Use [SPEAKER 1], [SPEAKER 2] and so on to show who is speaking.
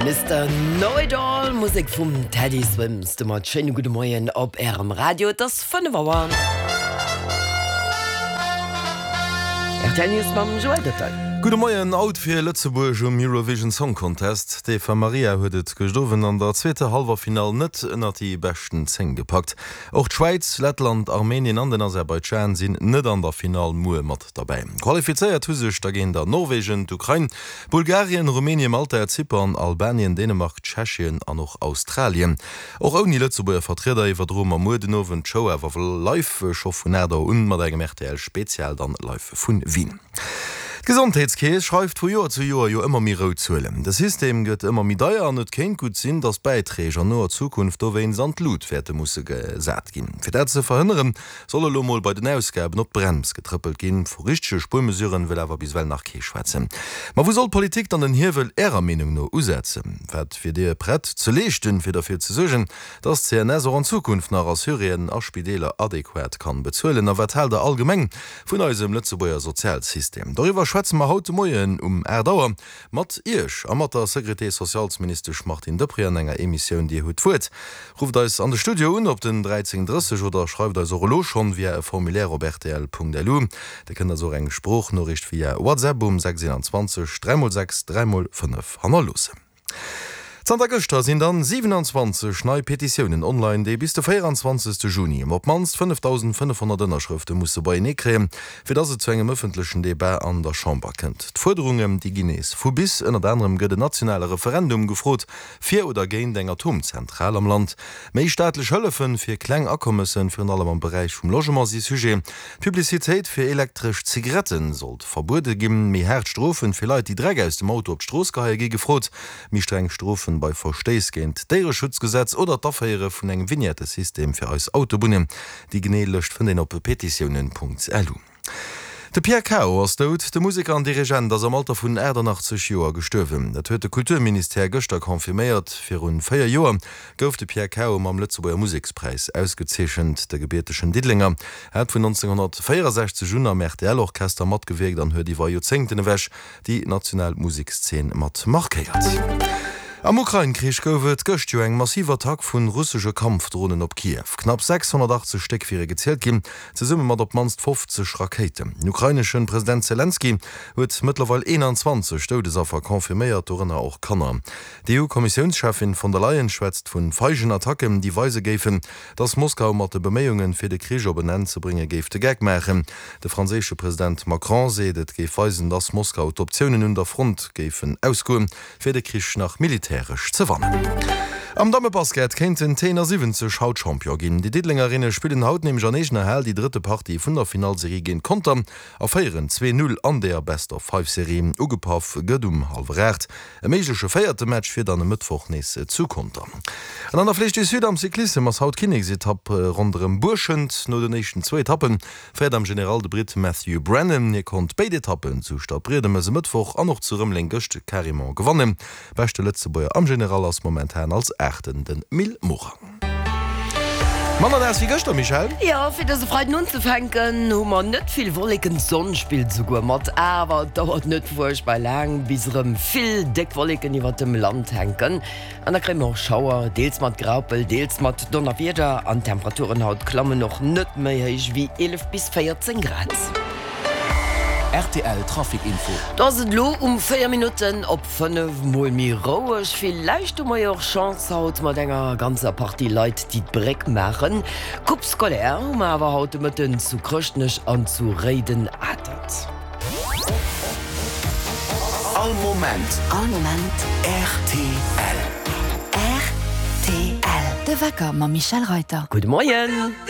[SPEAKER 1] Mister Know It All, Musek vum Teddy Swims. Domat schéine gudde Moien op Ärem Radio. Et ass 5 Auer. Rtl News mam Joël Goettel.
[SPEAKER 2] Gudde Moien, Haut fir Lëtzebuerg um Eurovision Song Contest. D'Eva Marija huet et gëscht Owend an der zweeter Hallwerfinall net ënnert déi beschten 10 gepackt. Och d'Schwäiz, Lettland, Armenien an den Aserbaidschan sinn net an der Finall muer mat derbäi. Qualifizéiert hu sech dergéint a Norwegen, d'Ukrain, Bulgarien, Rumänien, Malta, Zypern, Albanien, Dänemark, Tschechien an och Australien. Och ouni Lëtzebuerger Vertrieder iwwerdroe mer muer den Owend d'Show awer live, scho vun 8 Auer un, mat engem rtl Spezial dann live vun Wien. D'Gesondheetskeess schreift vu Joer zu Joer jo ëmmer méi rout Zuelen. De System gëtt ëmmer méi deier an et kéint gutt sinn, datt d'Bäiträg an noer Zukunft dowéinst an d'Lut wäerte musse gesat ginn. Fir dat ze verhënneren, Soll elo mol bei den Ausgaben op d'Brems getrëppelt ginn? Vu richtege Spuermesuren wëll awer bis ewell nach kee schwätzen. Ma wou soll d'Politik dann den Hiewel Ärer Meenung no usetzen? Wat wier Dir prett ze leeschten, fir derfir ze suergen, dass d'CNS och an Zukunft nach Assuréen a Spideeler adequat kann bezuelen? A wat haalt Der allgemeng vun eisem Lëtzebuerger Sozialsystem? Doriwwer schwätze mer haut de Moien um 8 Auer mat Iech a mat der Sécurité-socialsministesch Martine Deprez an enger Emissioun Dir hutt d'Wuert. Rufft eis an de Studio un op den 13 30 oder schreift eis och elo schonn via e Formulaire op rtl.lu. Dir kënnt eis och eng Sproochnoriicht via WhatsApp um 6 21 3 x 6 3 x 5 hannerloossen. Zanter gëschter sinn dann 27 nei Petitiounen online, déi bis de 24 Juni op d'mannst 5.500 Ënnerschrëfte musse beienee kréien, fir dass et zu engem ëffentlechen Debat an der Chamber kënnt. D'Fuerderungen, déi ginn nees vu bis. Ënnert anerem gëtt en nationale Referendum gefrot, Fir oder géint eng Atomzentral am Land? Méi staatlech Hëllefen fir kleng Akommessen, virun allem am Beräich vum Logement, si Sujet. D'Publicitéit fir elektresch Zigaretten sollt verbuede ginn. Méi haart Strofen fir Leit, déi Dreck aus dem Auto op d'Strooss geheie gi gefrot. Méi streng Strofen bei Verstéiss géint d'Déiereschutzgesetz oder d'Aféiere vun engem Vignettesystem fir eis Autobunnen. Déi genee Lëscht fënnt een op petitiounen.lu. De Pierre Cao ass dout. De Museker an Dirigent ass am Alter vun 88 Joer gestuerwen. Dat huet de Kulturministère gëschter confirméiert. Virun 4 Joer gouf de Pierre Cao mam Lëtzebuerger Musekspräis ausgezeechent. De gebiertegen Diddelenger hat vun 1964 un am RTL-Orchester matgewierkt an huet iwwer Joerzéngten ewech déi national Musekszeen mat markéiert. Am Ukrain-Krich gouf et gëscht jo eng massiv Attack vun russesche Kampfdronen op Kiew. Knapp 680 Stéck wiere gezielt ginn, zesumme mat op d'mannst 50 Rakéiten. Den ukraineschen President Selenskyj huet mëttlerweil 21 Doudesaffer confirméiert, dorënner och Kanner. D'EU-Kommissiounscheffin von der Leyen schwätzt vun feigen Attacken, déi weise géifen, datt Moskau mat de Beméiungen, fir de Krich op en Enn ze bréngen, géif de Geck maachen. De franséische President Macron seet, et géif weisen, datt Moskau d'Optiounen un der Front géifen ausgoen, fir de Krich nach militäresch ze wannen. Am Dammebasket kéinten d'T71 haut Champion ginn. Déi Diddelengerinne spillen haut nämlech an eegener Hal déi drëtte Partie vun der Finallserie géint Conter a féieren 2, 0 an der Best-of-Five-Serie. Ugepaff gëtt um hallwer 8. E méigleche véierte Match wier dann e Mëttwoch nees zu Conter. An an der Flèche du Sud am Cyclissem ass haut d'Kinneksetapp ronderëm Buerschent. No den éischten zwou Etappe féiert am General de Britt Matthew Brennan. Hie konnt béid Etappen zu Stadbriedemes e Mëttwoch an och zu Rëmeleng gëscht carrément gewannen. Beschte Lëtzebuerger am General ass momentan als Aachten de Mil Morang. Manner naass wéi gëschter, Michèle?
[SPEAKER 1] Jo, fir dëse Freiden unzefänken hu mer net vill Wolleken, d'Sonn spillt esouguer mat, awer et dauert net fuerchtbar laang, bis erëm vill déck Wolleken iwwert dem Land hänken. An da kréie mer och Schauer, deels mat Graupel, deels mat Donnerwieder an d'Temperaturen haut klammen och net méi héich wéi 11 bis 14 Grad.
[SPEAKER 3] Rtl Trafic Info.
[SPEAKER 1] Do ass et elo um 4 Minutten op 5 mol méi roueg. Villäicht hu mer jo och Chance haut mat enger ganzer Partie Leit, déi d'Bréck maachen. Coupe scolaire hu mer awer haut de Mëtten zu Chrëschtnech an zu Réiden-Atert.
[SPEAKER 3] All Moment.
[SPEAKER 4] All Moment.
[SPEAKER 3] Rtl.
[SPEAKER 4] Rtl. De Wecker mam Michèle Reyter.
[SPEAKER 1] Gudde Moien.